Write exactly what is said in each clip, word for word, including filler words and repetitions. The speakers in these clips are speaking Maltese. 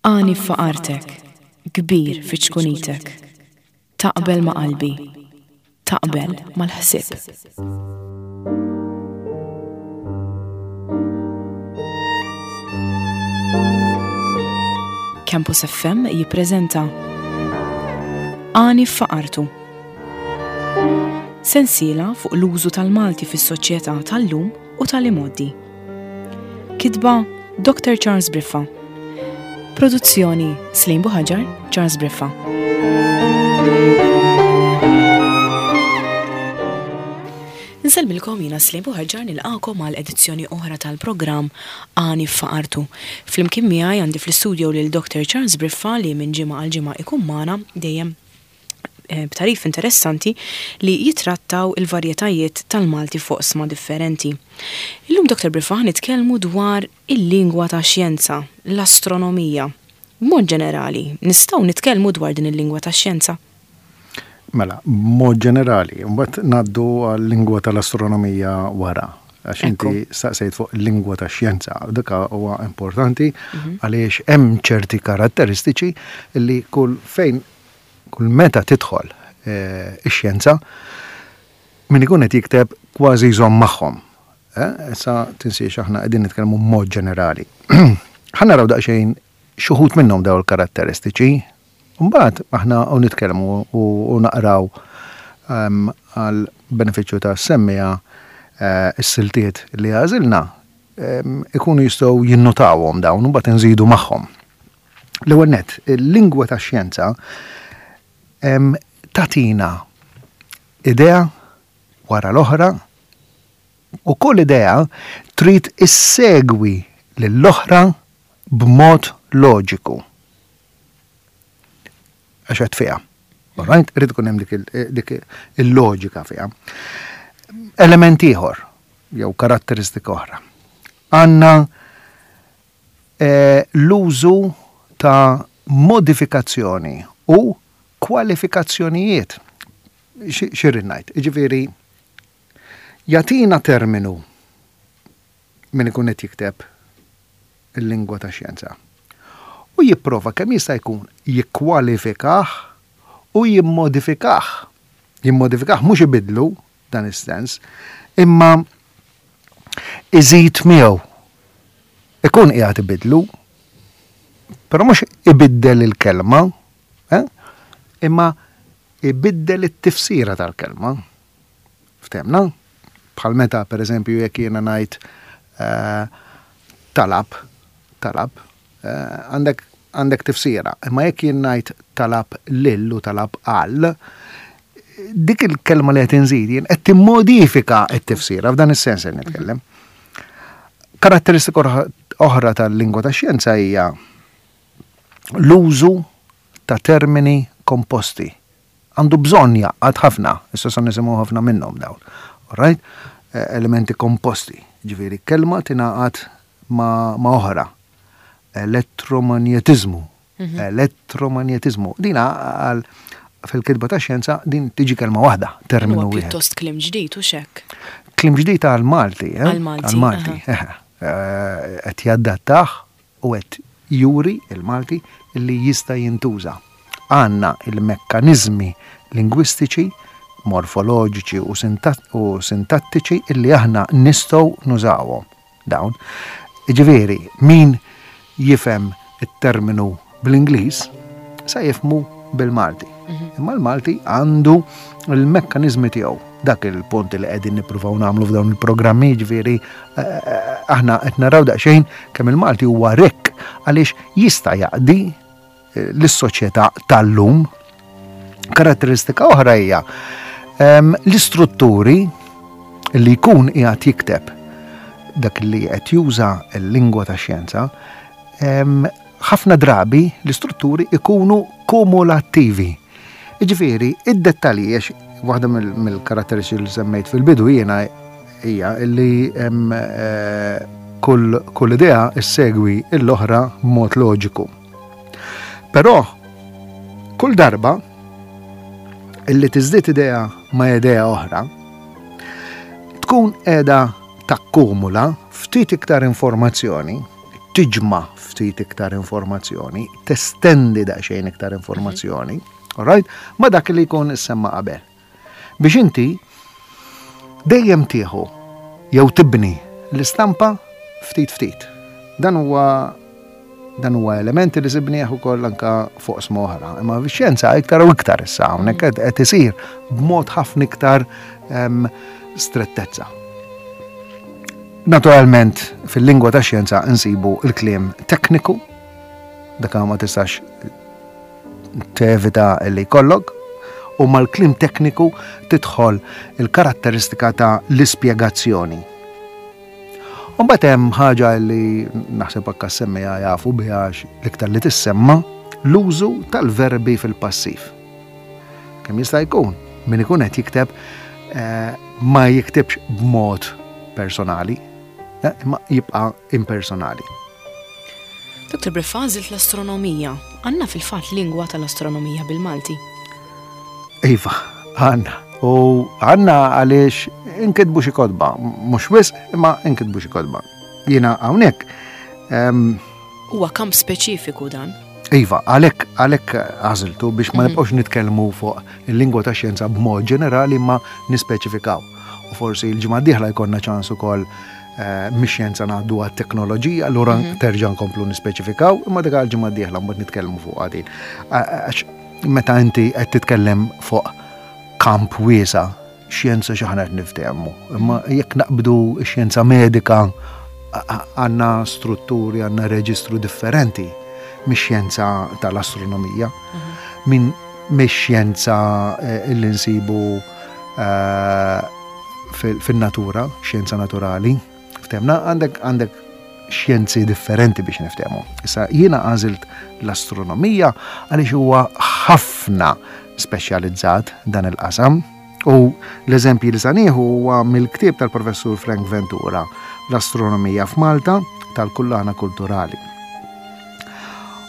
Għani f'faqartek, kbir fi ċkunitek. Taqbel ma' qalbi, taqbel mal-ħsieb. Campus F M jippreżenta Għani f'faqartu. Sensiela fuq l-użu tal-Malti fis-soċjetà tal-lum u tal-imgħoddi. Kitba Doctor Charles Briffa. Produzzjoni Slim Buhaġar, Charles Briffa. Nsellmilkom jiena Slim Buhaġar, nilqakom għal edizzjoni oħra tal-programm Għani f'Faqartu. Flimkien miegħi għandi fl-istudio lil Doctor Charles Briffa li minn ġimgħa għal ġimgħa ikun magħna dejjem, eh, b'tarif interessanti li jitrattaw il-varjetajiet tal-Malti fuq sma differenti. Illum Doctor Briffa nitkellmu dwar il-lingwa ta' xjenza, l-astronomija. B'mod ġenerali, nistgħu nitkellmu dwar din il-lingwa ta' xjenza? Mela, b'mod ġenerali, mbagħad ngħaddu għal-lingwa tal-astronomija wara. Għax inti Ekku. staqsejt fuq il-lingwa ta' xjenza, dak huwa importanti Mhm. għaliex hemm ċerti karatteristiċi li kull fejn, kull meta tidħol, eh, ix-xjenza, min ikun qed jikteb kważi jżomm magħhom. Eh, issa tinsiex aħna qegħdin nitkellmu b'mod ġenerali. Ħa naraw daqsxejn xi wħud minnhom dawn il-karatteristiċi. Mbagħad aħna u nitkellmu u, u naqraw, ehm, għal benefiċċju ta' semmija, eh, is-siltiet li għażilna, ehm, ikunu jistgħu jinnotawhom dawn u mbagħad inżidu magħhom. L-ewwel nett, il-lingwa tax-xjenza, ehm, tatina idea wara l-oħra u kull idea trid issegwi lill-oħra b'mod loġiku. Għax qed fiha. All right? Irid ikun hemm dik il-, dik il-loġika fiha. Element ieħor jew karatteristika oħra. Għandna, eh, l-użu ta' modifikazzjoni u kwalifikazzjonijiet. Xi-, xi rrid ngħid? Jiġifieri, jagħtina terminu min ikun qed jikteb il-lingwa ta' xjenza. U jipprova kemm jista' jkun jikkwalifikah u jimmodifikah. Jimmodifikah mhux ibidlu dan is-sens, imma iżid miegħu. Ikun qiegħed ibidlu, però mhux ibiddel il-kelma, eh? Imma ibiddel it-tifsira tal-kelma. Ftemna? Bħal meta, per eżempju, jekk jiena ngħid, eh, talab, talab, eh, għandek, għandek tifsira. Imma jekk jien ngħid talab lil u talab għal, dik il-kelma li qed inżid jien qed timmodifika t-tifsira f'dan is-sens qed nitkellem. Karatteristika oħra, oħra tal-lingwa tax-xjenza hija l-użu ta' termini komposti. Għandu bżonn jaqgħad ħafna, issa se nisimgħu ħafna minnhom dawn. All right? Eh, elementi komposti, ġifieri kelma tingħaqad ma', ma' oħra. Elettromagnetiżmu. Mhm. Elettromagnetiżmu. Dina għal fil-kitba ta' xjenza din tiġi kelma waħda, terminu Huwa wieħed. Pjuttost kliem ġdid u xek. Kliem ġdid għal Malti, eh? Għal Malti, Għal Malti, aha. eh, eh, qed jaddattah u qed juri il-Malti li jista' jintuża. Għandna il-mekkaniżmi lingwistiċi, morfoloġiċi u sintat-, u sintattiċi illi aħna nistgħu nużawhom dawn. Jiġifieri, min jifhem it-terminu bl-Ingliż sa jifhmu bil-Malti. Mhm. Imma l-Malti għandu l-mekkaniżmi tiegħu. Dak il-punt li qegħdin nippruvaw nagħmlu f'dawn il-programmi, jiġifieri, eh, eh, aħna qed naraw daqsxejn kemm il-Malti huwa rikk għaliex jista' jaqdi, eh, lis-soċjetà tal-lum. Karatteristika oħra hija, ehm, l-istrutturi li jkun qiegħed jikteb dak li qed juża l-lingwa tax-xjenza, ehm, ħafna drabi l-istrutturi ikunu kumulattivi. Jiġifieri, id-dettalji, għax waħda mill-, mill-karatteristiċi li semmejt fil-bidu jiena hija li hemm, eh, kull, kull idea issegwi l-oħra b'mod loġiku. Però kull darba illi tiżdied idea ma' idea oħra, tkun qiegħda takkumula ftit iktar informazzjoni Tiġma' ftit iktar informazzjoni, testendi daqsxejn iktar informazzjoni, all right? Ma dak li jkun issemma qabel. Biex inti dejjem tieħu jew tibni l-istampa ftit ftit. Dan huwa dan huwa elementi li sibnieh ukoll anka fuq oqsma oħra. Imma fix-xjenza iktar u iktar issa hawnhekk qed isir b'mod ħafna iktar strettezza. Naturalment, fil-lingwa ta' xjenza nsibu il-kliem tekniku, dak ma tistax tevita li jkollok, u mal-kliem tekniku tidħol il-karatteristika ta' l-ispjegazzjoni. Mbagħad hemm ħaġa li naħseb anke semmija jafu biha, l-iktar li tissemma, l-użu tal-verbi fil-passiv. Kemm jista' jkun, min ikun qed jikteb eh, ma jiktibx b'mod personali, eh, imma jibqa' impersonali. Doktor Briffa, għażilt l-astronomija. Għandna fil-fatt lingwa tal-astronomija bil-Malti? Iva, għandna. U għandna għaliex inkitbu xi kotba, mhux wisq, imma inkitbu xi kotba. Jiena hawnhekk Huwa kamp speċifiku dan. Iva, għalhekk għalhekk għażiltu biex ma nibqgħux nitkellmu fuq il-lingwa ta' xjenza b'mod ġenerali, ma nispeċifikaw. U forsi l-ġimgħa d-dieħla jkollna ċans ukoll eh, mix-xjenza ngħaddu għat-teknoloġija, allura terġa' nkomplu nispeċifikaw, imma dik għal-ġimgħa d-dieħla mbagħad nitkellmu fuq din. Għax meta inti qed titkellem fuq kamp wiesa', xjenza xi ħana qed niftehmu. Imma jekk naqbdu xjenza medika, għandna strutturi, għandna reġistru differenti mix-xjenza tal-astronomija, minn mix-xjenza eh, li nsibu eh, fil-natura, xjenza naturali. Ftehmna, għandek għandek xjenzi differenti biex niftehmu. Issa jiena għażilt l-astronomija għaliex huwa ħafna speċjalizzat dan il-qasam, u l-eżempji li sa nieħu huwa mill-ktieb tal-professur Frank Ventura, L-Astronomija f'Malta, tal-Kullana Kulturali.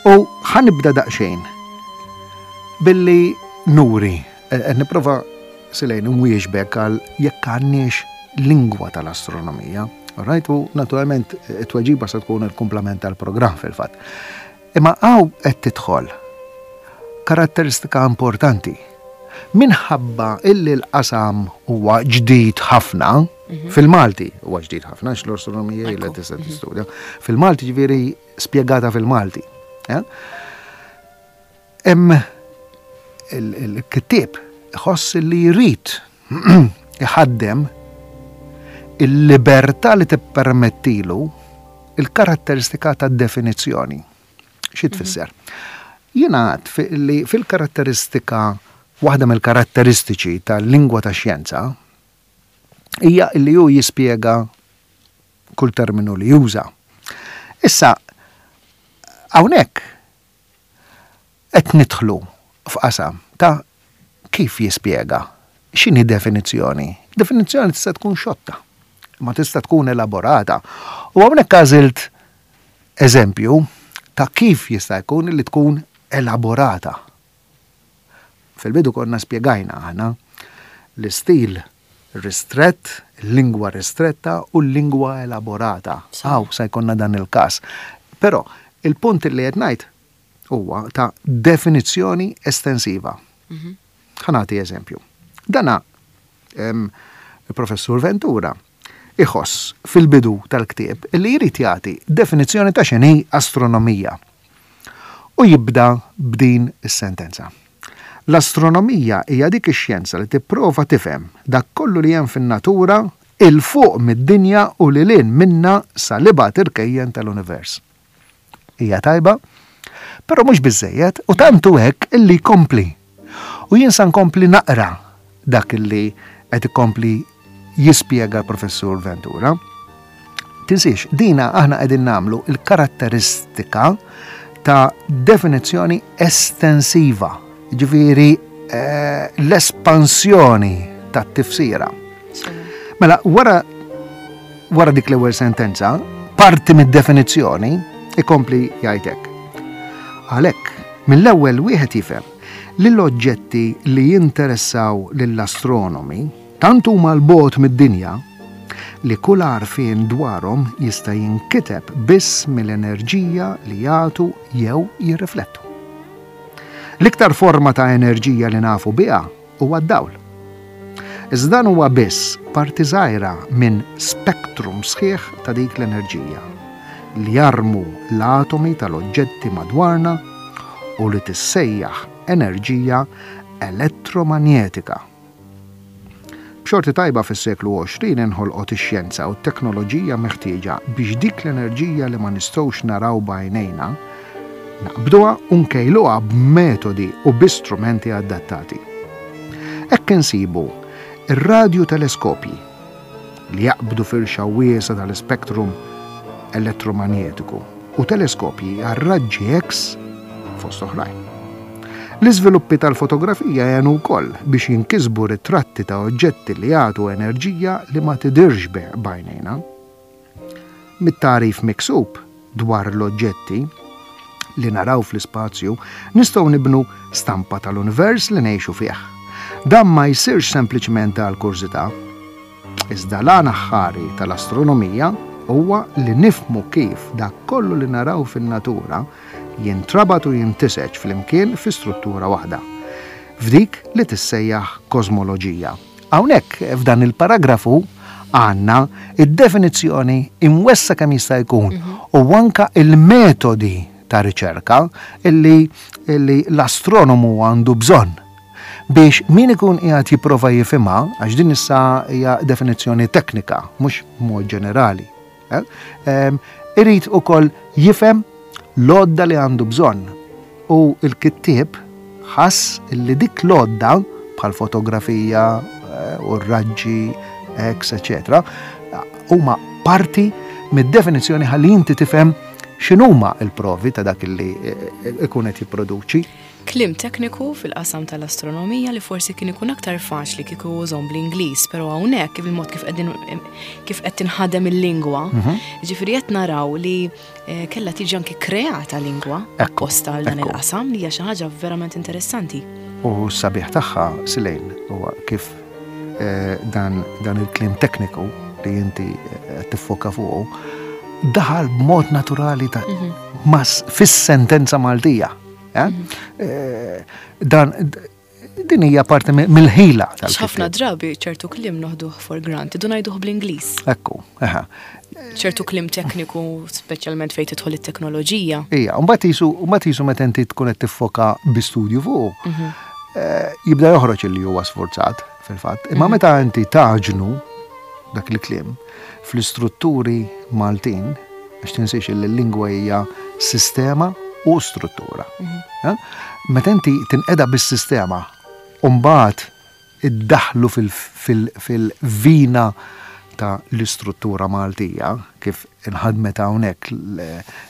U ħa nibda daqsxejn billi nuri, qed nipprova silejn nwieġbek għal jekk għandniex lingwa tal-astronomija. Right? U naturalment it-tweġiba se tkun il-komplement tal-programm fil-fatt. Imma hawn qed tidħol karatteristika importanti. Minħabba illi l-qasam huwa ġdid ħafna, fil-Malti huwa ġdid ħafna, għax l-astronomija ilha tista' tistudja. Fil-Malti, ġifieri spjegata fil-Malti. Hemm il-kittieb iħoss li jrid iħaddem il-libertà li tippermettilu il-karatteristika ta' definizzjoni. Xi tfisser? Jiena għad li fil-karatteristika, waħda mill-karatteristiċi tal-lingwa ta' xjenza hija li hu jispjega kull terminu li juża. Issa, hawnhekk qed nidħlu f'qasam ta' kif jispjega, x'inhi definizzjoni. Definizzjoni tista' tkun xotta, ma tista' tkun elaborata. U hawnhekk għażilt eżempju ta' kif jista' jkun li tkun elaborata. Fil-bidu konna spjegajna aħna l-istil ristrett, lingwa ristretta u l-lingwa elaborata. Hawn sa jkollna dan il-każ. Però il-punt li qed ngħid huwa ta' definizzjoni estensiva. Ħa nagħti eżempju. Dana il-professur Ventura iħoss fil-bidu tal-ktieb li jrid jagħti definizzjoni ta' x'inhi astronomija. U jibda b'din is-sentenza: "L-astronomija hija dik ix-xjenza li tipprova tifhem dak kollu li hemm fin-natura 'il fuq mid-dinja u lil hinn minna sal-ibgħad irkejjen tal-univers." Hija tajba, però mhux biżejjed, u tantu hekk illi jkompli. U jien sa nkompli naqra dak illi qed ikompli jispjega l-professur Ventura. Tinsiex, dina aħna qegħdin nagħmlu il-karatteristika ta' definizzjoni estensiva, ġifieri eh, l-espansjoni ta' tifsira. Mela, wara wara dik l-ewwel sentenza, parti mid-definizzjoni, ikompli jgħidek: "Għalhekk, mill-ewwel wieħed jifhem li l-oġġetti li jinteressaw lill-astronomi tant huma 'l bogħod mid-dinja li kull għarfien dwarhom jista' jinkiteb biss mill-enerġija li jagħtu jew jirriflettu. L-iktar forma ta' enerġija li nafu biha huwa d-dawl. Iżda dan huwa biss parti żgħira minn spektrum sħiħ ta' dik l-enerġija li jarmu l-atomi tal-oġġetti madwarna u li tissejjaħ enerġija elettromanjetika. B'xorti tajba fis-seklu għoxrin inħolqot ix-xjenza u t-teknoloġija meħtieġa biex dik l-enerġija li ma nistgħux naraw b'għajnejna naqbduha u nkejluha b'metodi u bi strumenti adattati. Hekk insibu ir-radjuteleskopji li jaqbdu firxa wiesgħa tal-spektrum elettromagnetiku u teleskopji għar-raġġi X fost oħrajn. L-iżviluppi tal-fotografija għenu wkoll biex jinkisbu ritratti ta' oġġetti li jagħtu enerġija li ma tidirx b'għajnejna. Mit-tagħrif miksub dwar l-oġġetti li naraw fl-ispazju nistgħu nibnu stampa tal-univers li ngħixu fih. Dan ma jsirx sempliċement għal kurżità. Iżda l-għan aħħari tal-astronomija huwa li nifhmu kif dak kollu li naraw fin-natura jintrabat u jintiseġ flimkien fi struttura waħda, f'dik li tissejjaħ kosmoloġija. Hawnhekk f'dan il-paragrafu għandna id-definizzjoni imwessa kemm jista' jkun u anka il-metodi ta' riċerka illi, illi l-astronomu għandu bżonn biex min ikun qiegħed jipprova jifhimha, għax din issa hija definizzjoni teknika, mhux mod ġenerali. Eh? Em, irid ukoll jifhem l-għodda li għandu bżonn. U l-kittieb ħass li dik l-għodda bħal fotografija eh, u r-raġġi X, eċetera, huma parti mid-definizzjoni ħalli inti tifhem x'inhuma l-provi ta' dak li eh, ikun qed jipproduċi. Kliem tekniku fil-qasam tal-astronomija li forsi kien ikun aktar faċli kieku użahom bl-Ingliż, però hawnhekk kif il-mod kif qegħdin kif qed tinħadem il-lingwa, Mhm. ġifieri qed naraw li eh, kellha tiġi anke kreata lingwa Ekku, apposta għal dan ekku. il-qasam li hija xi ħaġa verament interessanti. U s-sabiħ tagħha, Silejn, huwa kif eh, dan, dan il-kliem tekniku li inti eh, tiffoka fuqu daħal b'mod naturali ta' mas fis-sentenza Maltija. Eh? Eh, Dan din hija parti mi- mill-ħila X'ħafna tal-kittieb. drabi ċertu kliem noħduh for granted u ngħiduh bl-Ingliż. Ekku, eħa. Ċertu kliem tekniku, speċjalment fejn tidħol it-teknoloġija. Ija, mbagħad jisu mbagħad jisu meta inti tkun qed tiffoka bi studju fuq, eh, jibda joħroġ li huwa sforzat fil-fatt. Imma meta inti taġnu dak il-kliem fl-istrutturi Maltin, għax tinsiex li l-lingwa hija sistema u struttura. Eh? Meta inti tinqeda bis-sistema u mbagħad iddaħlu fil-vina ta' l-istruttura Maltija, kif inħadmet hawnhekk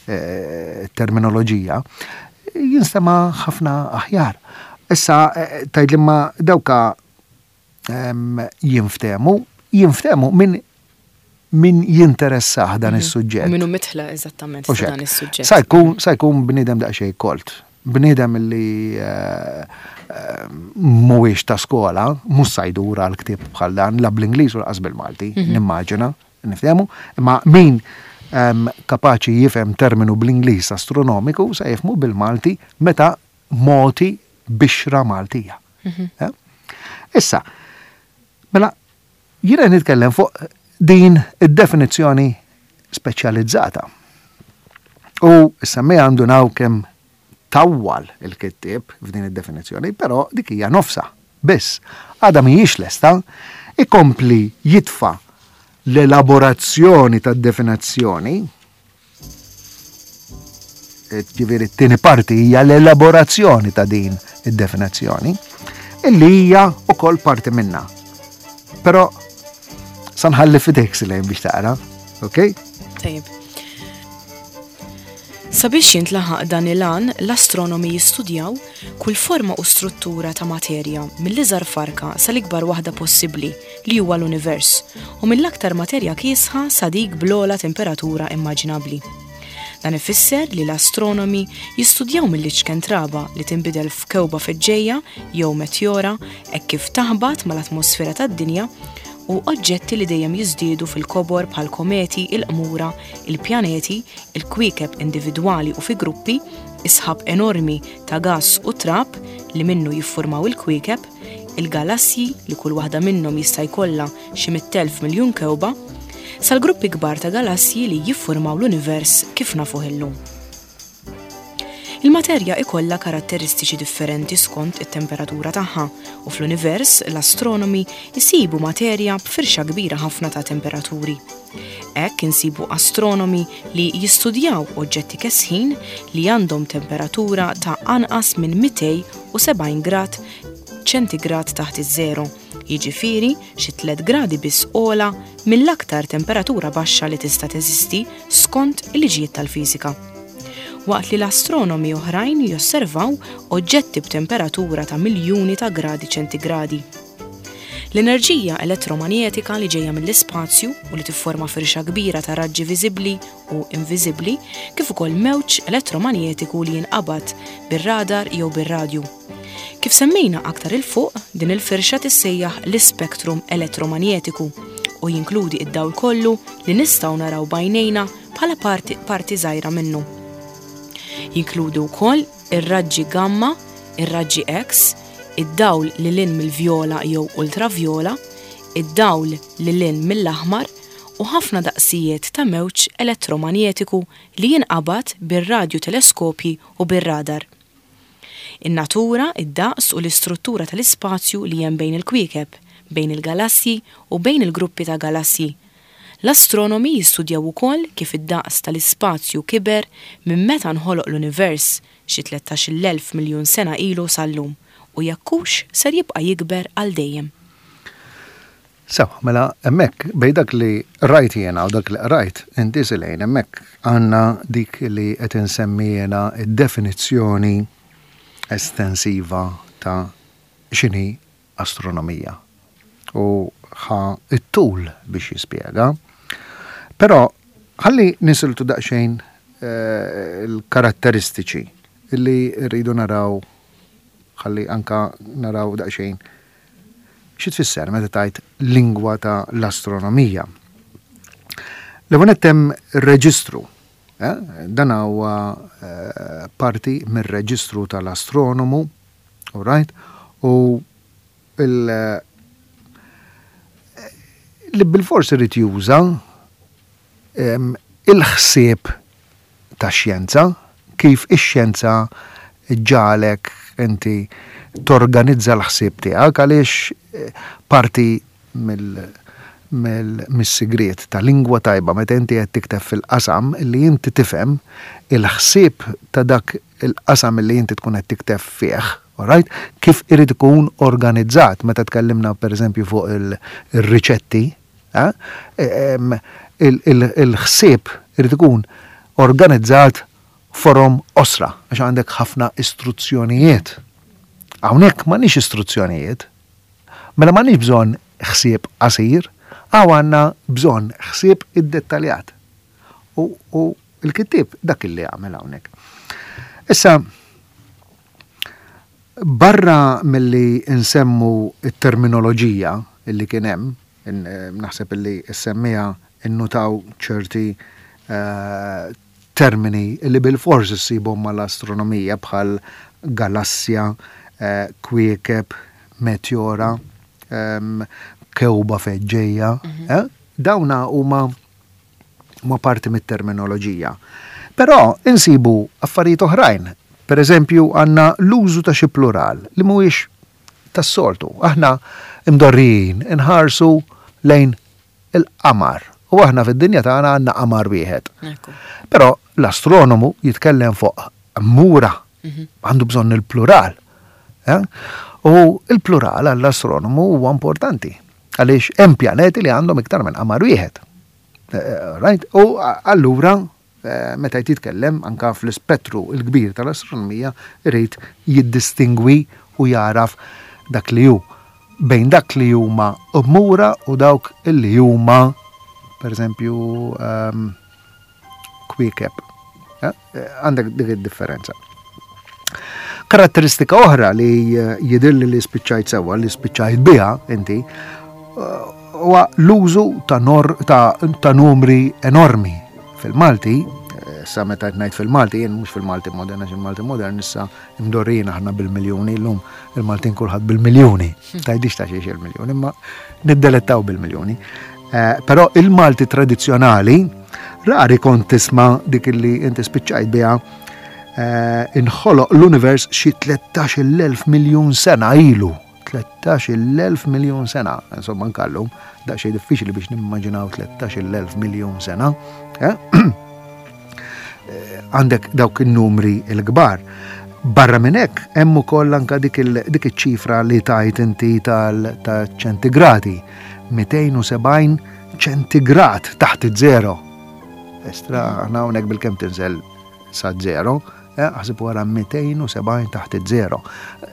l-terminoloġija, jinstema' ħafna aħjar. Issa, eh, tgħid li ma dawka em, jinftemu, jinftemu min min jinteressah dan is-suġġett. U minnu mitħla eżattament U ta' dan xek. is-suġġett. Sa jkun sa jkun bniedem daqsxejn kolt. Bniedem li eh, eh, mhuwiex ta' skola, mhux sa jdur għal ktieb bħal dan, la bl-Ingliż u lanqas bil-Malti, nimmaġina, niftehmu, imma min em, kapaċi jifhem terminu bl-Ingliż astronomiku sa jifhmu bil-Malti meta moti bixra Maltija. Eh? Issa, mela, jiena nitkellem fuq din id-definizzjoni speċjalizzata. U issa me għandu naw kemm tawwal il-kittieb f'din id-definizzjoni, però dik hija nofsa. Biss, għadha mhijiex lesta, ikompli jitfa l-elaborazzjoni tad-definizzjoni, ġifieri t-tieni parti hija l-elaborazzjoni ta' din id-definizzjoni, illi hija ukoll parti minna. Però sa nħalli f'idejk Silejn biex taqra, ok? Tajjeb. Sabiex jintlaħaq dan il-għan, l-astronomi jistudjaw kull forma u struttura ta' materja mill-iżgħar farka sal-ikbar waħda possibbli li huwa l-univers u mill-aktar materja kiesħa sa dik bl-ogħla temperatura immaġinabbli. Dan ifisser li l-astronomi jistudjaw mill-iċken traba li tinbidel f'kewba feġġejja jew meteora hekk kif taħbat mal-atmosfera tad-dinja u oġġetti li dejjem jiżdiedu fil-kobor bħal kometi, il-qmura, il-pjaneti, il-kwiekeb individwali u fi gruppi, isħab enormi ta' gass u trab li minnu jiffurmaw il-kwiekeb, il-galassji li kull waħda minnhom jista' jkollha xi mitt elf miljun kewba, sal-gruppi kbar ta' galassji li jiffurmaw l-univers kif nafuh illum. Il-materja ikollha karatteristiċi differenti skont it-temperatura tagħha u fl-univers l-astronomi jsibu materja b'firxa kbira ħafna ta' temperaturi. Hekk insibu astronomi li jistudjaw oġġetti kesħin li għandhom temperatura ta' anqas minn mitejn u sebgħin grad ċentigrad taħt iż-żero, jiġifieri xi tliet gradi biss ogħla mill-aktar temperatura baxxa li tista' teżisti skont il-liġijiet tal-fiżika. Waqt li l-astronomi oħrajn josservaw oġġetti b'temperatura ta' miljuni ta' gradi ċentigradi. L-enerġija elettromanjetika li ġejja mill-ispazju u li tifforma firxa kbira ta' raġġi viżibbli u inviżibbli, kif ukoll mewġ elettromanjetiku li jinqabad bir-radar jew bir-radju. Kif semmejna aktar il fuq, din il-firxa tissejjaħ l-ispektrum elettromanjetiku u jinkludi id-dawl kollu li nistgħu naraw b'għajnejna bħala parti, parti żgħira minnu. Jinkludu wkoll ir-raġġi gamma, ir-raġġi X, id-dawl li lin mill-vjola jew ultravjola, id-dawl li lin mill-aħmar u ħafna daqsijiet ta' mewġ elettromanjetiku li jinqabad bir-radjuteleskopji u bir-radar. In-natura, id-daqs u l-istruttura tal-ispazju li hemm bejn il-kwiekeb, bejn il-galassji u bejn il-gruppi ta' galassji. L-astronomi jistudjaw ukoll kif id-daqs tal-ispazju kiber minn meta nħoloq l-univers xi tlettax-il elf miljun sena ilu sal-lum u jekk hux ser jibqa' jikber għal dejjem. Sewa, mela hemmhekk bejn dak li rajt jiena u dak li qrajt inti Silejn, hemmhekk għandna dik li qed insemmi jiena id-definizzjoni estensiva ta' x'inhi astronomija. U ħa it-tul biex jispjega. Però ħalli nisiltu daqsxejn, eh, il-karatteristiċi li rridu naraw, ħalli anka naraw daqsxejn xi tfisser meta tajt lingwa ta' l-astronomija. L-ewwel nett hemm reġistru. Eh? Dan huwa, eh, parti mir-reġistru tal-astronomu, all right? U il-, li bil-fors irid juża, em, il-ħsieb ta' xjenza, kif ix-xjenza ġalek inti torganizza l-ħsieb tiegħek, għaliex, eh, parti mill-, mill-, mis-sigriet ta' lingwa tajba meta inti qed tikteb fil-qasam li inti tifhem il-ħsieb ta' dak il-qasam li inti tkun qed tikteb fih, all right? Kif irid ikun organizzat meta tkellimna pereżempju fuq il-, ir-riċetti, eh? Em, il-, il-, il-ħsieb irid ikun organizzat forom osra, għax għandek ħafna istruzzjonijiet. Hawnhekk m'għandniex istruzzjonijiet, mela m'għandniex bżonn ħsieb qasir, hawn għandna bżonn ħsieb iddettaljat. U, u l-kittieb dak illi għamel hawnhekk. Issa, barra milli nsemmu t-terminoloġija illi kien hemm, in-, naħseb illi semmija innutaw ċerti, eh, termini li bil-fors issibhom mal-astronomija bħal galassja, eh, kwiekeb, meteora, em, kewba feġġejja, Mhm. eh? Dawna huma huma parti mit-terminoloġija. Però insibu affarijiet oħrajn. Per eżempju, għandna l-użu ta' xi plural li mhuwiex tas-soltu. Aħna imdorrijin inħarsu lejn il-qamar. U aħna fid-dinja tagħna għandna qamar wieħed. Ekku. Però l-astronomu jitkellem fuq mura, Mhm. għandu bżonn il-plural. Eh? U il-plural għall-astronomu huwa importanti, għaliex hemm pjaneti li għandhom iktar minn qamar wieħed. Eh, right? U allura, eh, meta jitkellem anka fl-ispettru il-kbir tal-astronomija, irid jiddistingwi u jaraf dak li hu bejn dak li huma mura u dawk li huma, per eżempju, ehm, kwiekeb. Eh, għandek dik id-differenza. Karatteristika oħra li, eh, jidhirli li spiċċajt sewwa, li spiċċajt biha inti, eh, Huwa l-użu ta', nor, ta, ta numri enormi. Fil-Malti, sa meta ngħid fil-Malti, jien mhux fil-Malti modern, għax il-Malti modern issa imdorrijin aħna bil-miljuni, llum il-Maltin kulħadd bil-miljuni. Tgħidix ta' xiex il-miljuni, imma niddelettaw bil-miljuni. Eh, però il-Malti tradizzjonali, rari kont tisma' dik li inti spiċċajt biha, eh, inħoloq l-univers xi tlettax-il elf miljun sena ilu. tlettax-il elf miljun sena. Insomma, nkallum, daqsxejn diffiċli biex nimmaġinaw tlettax-il elf miljun sena. Eh? Għandek dawk in-numri l-kbar. Barra minn hekk hemm ukoll anka dik iċ-ċifra li tajt inti tal-ċentigradi. mitejn u sebgħin ċentigrad taħt iż-żero. Estra, aħna hawnhekk bil-kemm tinżel sa zero, eh, aħseb wara mitejn u sebgħin taħt iż-żero.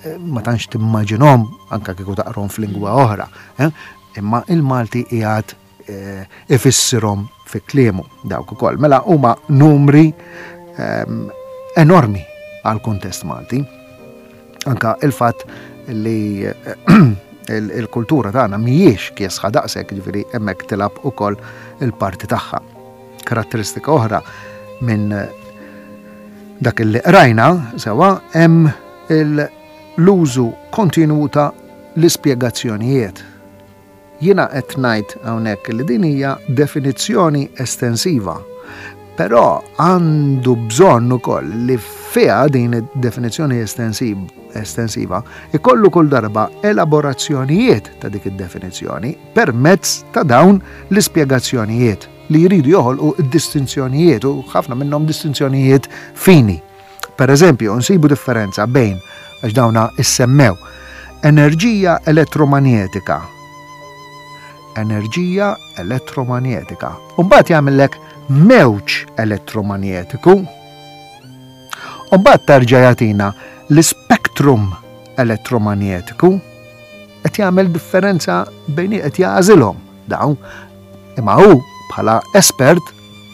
Eh, ma tantx timmaġinhom anka kieku taqrom f'lingwa oħra. Eh, imma il-Malti qiegħed ifissirhom fi kliemu dawk ukoll. Mela huma numri ehm, enormi għal kuntest Malti. Anka il-fatt li il-kultura tagħna mhijiex kiesħa daqshekk, ġifieri hemmhekk tilgħab ukoll il-parti tagħha. Karatteristika oħra minn dak li qrajna sewa hemm l-użu kontinwu ta' l-ispjegazzjonijiet. Jiena qed ngħid hawnhekk li din hija definizzjoni estensiva, però għandu bżonn ukoll li fiha din id-definizzjoni estensiva ikollu kull darba elaborazzjonijiet ta' dik id-definizzjoni permezz ta' dawn l-ispjegazzjonijiet li jridu joħolqu d-distinzjonijiet, u ħafna minnhom distinzjonijiet fini. Per eżempju, nsibu differenza bejn, għax dawna issemmew, enerġija elettromanjetika. Enerġija elettromanjetika. Umbagħad jagħmellek mewġ elettromanjetiku. Umbagħad terġa' jagħtina l-spektrum elettromanjetiku. Qed jagħmel differenza bejn, qed jagħżilhom dawn. Imma hu bħala espert,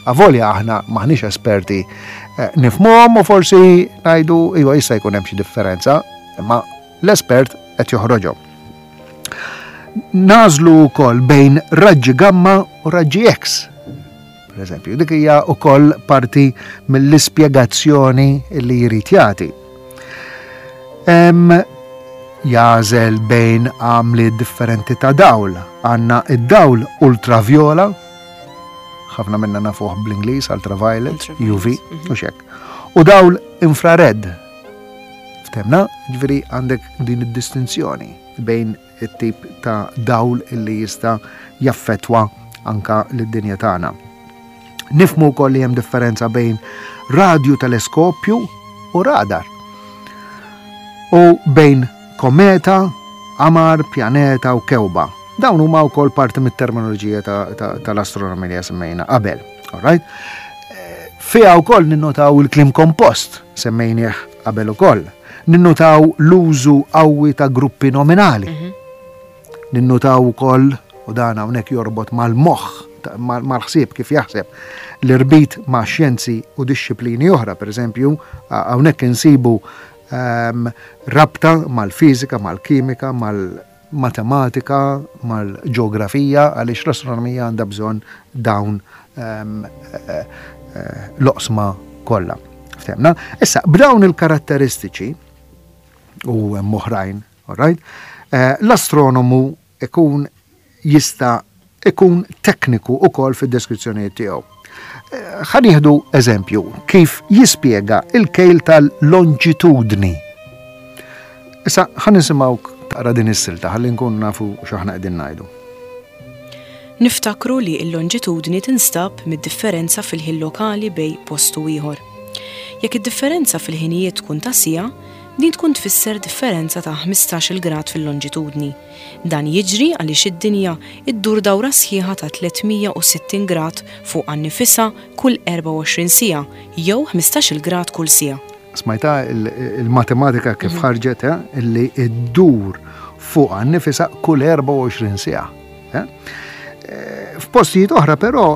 avolja aħna maħniex esperti, eh, nifhmuhom u forsi ngħidu iva, jista' jkun hemm xi differenza, imma l-espert qed joħroġhom. Nagħżlu wkoll bejn raġġi gamma u raġġi X. Per eżempju, dik hija wkoll parti mill-ispjegazzjoni li jrid jagħti. Jagħżel bejn għamli differenti ta' dawl. Għandna id-dawl ultraviola, ħafna minna nafuh bl-Ingliż, ultraviolet, U V, mhm. u xek. U dawl infrared. Ftemna, ġifieri għandek din id-distinzjoni bejn it-tip ta' dawl illi jista' jaffetwa anka lid-dinja tagħna. Nifhmu wkoll li hemm differenza bejn radju teleskopju u radar. U bejn kometa, qamar, pjaneta u kewba. Dawn huma wkoll parti mit-terminoloġija tal-astronomija semmejna qabel. Alright? Eh, fiha wkoll ninnotaw il-kliem kompost, semmejnieh qabel ukoll. Ninnotaw l-użu qawwi ta' gruppi nominali. Mhm. Ninnotaw ukoll, u dan hawnhekk jorbot mal-moħħ, mal-ħsieb kif jaħseb, l-irbit ma' xjenzi u disċiplini oħra, per eżempju, hawnhekk insibu um, rabta mal-fiżika, mal-kimika, mal-matematika, mal-ġeografija, għaliex l-astronomija għandha bżonn dawn um, l-oqsma kollha. Ftemna? Issa, b'dawn il-karatteristiċi u hemm oħrajn, all right? Eh, l-astronomu ikun jista' ikun tekniku ukoll fid-deskrizzjonijiet tiegħu. Eh, ħa nieħdu eżempju kif jispjega il-kejl tal-longitudni. Issa ħa nisimgħu taqra din is-silta ħalli nkun nafu x'aħna qegħdin ngħidu. Niftakru li l-longitudni tinstab mid-differenza fil-ħin lokali bejn post u ieħor. Jekk id-differenza fil-ħinijiet tkun ta' siegħa, din tkun tfisser differenza ta' ħmistax-il grad fil-longitudni. Dan jiġri għaliex id-dinja iddur dawra sħiħa ta' tliet mija u sittin grad fuq nifisha kull erbgħa u għoxrin siegħa jew ħmistax-il grad kull siegħa. Smajta il-matematika kif mhm. ħarġet, eh, illi iddur fuq nifisha kull erbgħa u għoxrin siegħa. Eh? Eh, f'postijiet oħra però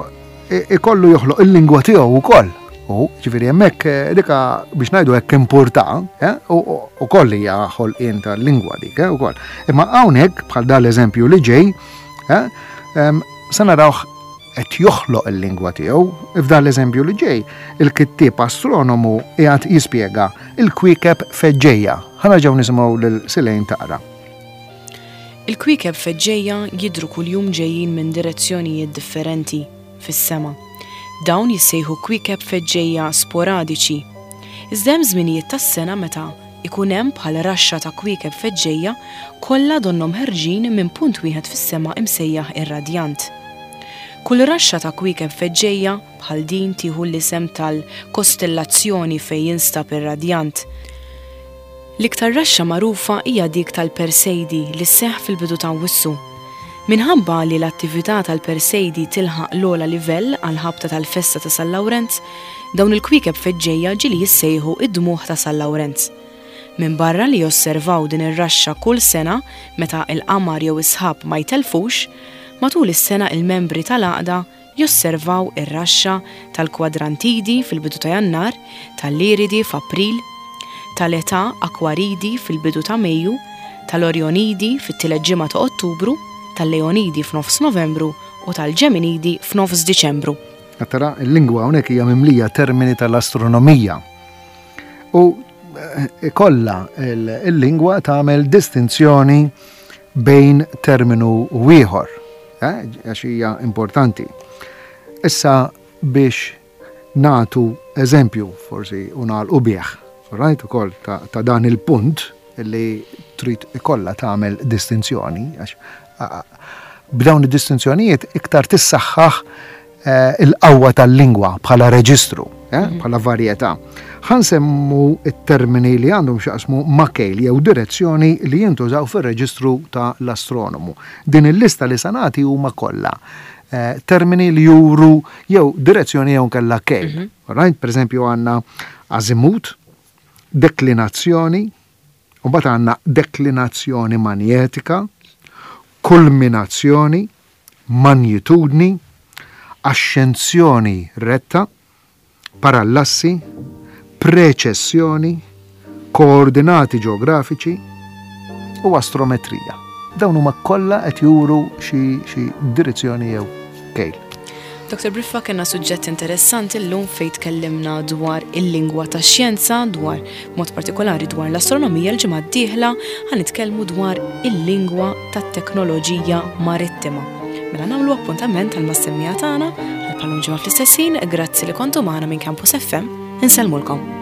ikollu joħloq il-lingwa tiegħu wkoll. U ġifieri hemmhekk dika biex ngħidu hekk importa, u koll hija ħolqien tal-lingwa dik ukoll. Imma hawnhekk bħal dan l-eżempju li ġej, Sa narawh qed joħloq il-lingwa tiegħu. F'dan l-eżempju li ġej, il-kittieb astronomu qiegħed jispjega il-kwiekeb feġġejja. Ħa nerġgħu nisimgħu lil Silejn taqra. Il-kwiekeb feġġejja jidhru kuljum ġejjin minn direzzjonijiet differenti fis-sema. Dawn jissejħu kwiekeb feġġejja sporadiċi. Iżda hemm żminijiet tas-sena meta ikun hemm bħal raxxa ta' kwiekeb feġġejja kollha donnhom ħerġin minn punt wieħed fis-sema imsejjaħ ir-radjant. Kull raxxa ta' kwiekeb feġġejja bħal din tieħu l-isem tal-kostellazzjoni fejn jinstab ir-radjant. L-iktar raxxa magħrufa hija dik tal-Persejdi li sseħħ fil-bidu ta' Awwissu. Minħabba li l-attività tal-Persejdi tilħaq l-ogħla livell għal ħabta tal-festa ta' San Lawrenz, dawn il-kwiekeb feġġejja ġieli jissejħu id-dmugħ ta' San Lawrenz. Minbarra li josservaw din ir-raxxa kull sena meta il-qamar jew is-sħab ma jtelfux, matul is-sena il-membri tal-għaqda josservaw ir-raxxa tal-Kwadrantidi fil-bidu ta' Jannar, tal-Liridi f'April, tal-Eta Akwaridi fil-bidu ta' Mejju, tal-Orjonidi fit-tielet ġimgħa ta' Ottubru, tal-Leonidi f'nofs Novembru u tal-Ġeminidi f'nofs Diċembru. Tara, il-lingwa hawnhekk hija mimlija termini tal-astronomija. U eh, kollha il-lingwa tagħmel distinzjoni bejn terminu u ieħor, eh, għax hija importanti. Issa biex nagħtu eżempju forsi u nagħlqu bih, right, ukoll ta', ta dan il-punt li trid ikollha tagħmel distinzjoni, għax b'dawn id-distinzjonijiet iktar tissaħħaħ eh, il-qawwa tal-lingwa bħala reġistru, eh, mhm. bħala varjetà. Ħa nsemmu it-termini li għandhom x'jaqsmu ma' kejl jew direzzjoni li jintużaw fir-reġistru ta' l-astronomu. Din il-lista li sa nagħti huma kollha eh, termini li juru jew direzzjoni jew kella kejl. Mm -hmm. Right? Per eżempju, għandna azimut, deklinazzjoni, u mbagħad għandna deklinazzjoni manjetika, kulminazzjoni, magnitudni, axxenzjoni retta, parallassi, preċessjoni, koordinati ġeografiċi u astrometrija. Dawn huma kollha qed juru xi xi direzzjoni jew kejl. Doktor Briffa, kellna suġġett interessanti llum fejn tkellimna dwar il-lingwa tax-xjenza, dwar mod partikolari dwar l-astronomija. L-ġimgħa d-dieħla ħa nitkellmu dwar il-lingwa tat-teknoloġija marittima. Mela nagħmlu appuntament għal mas-semmiegħa tagħna għal bħal ġimgħa fl-istess ħin. Grazzi li kontu magħna minn Campus F M. Insellmulkom.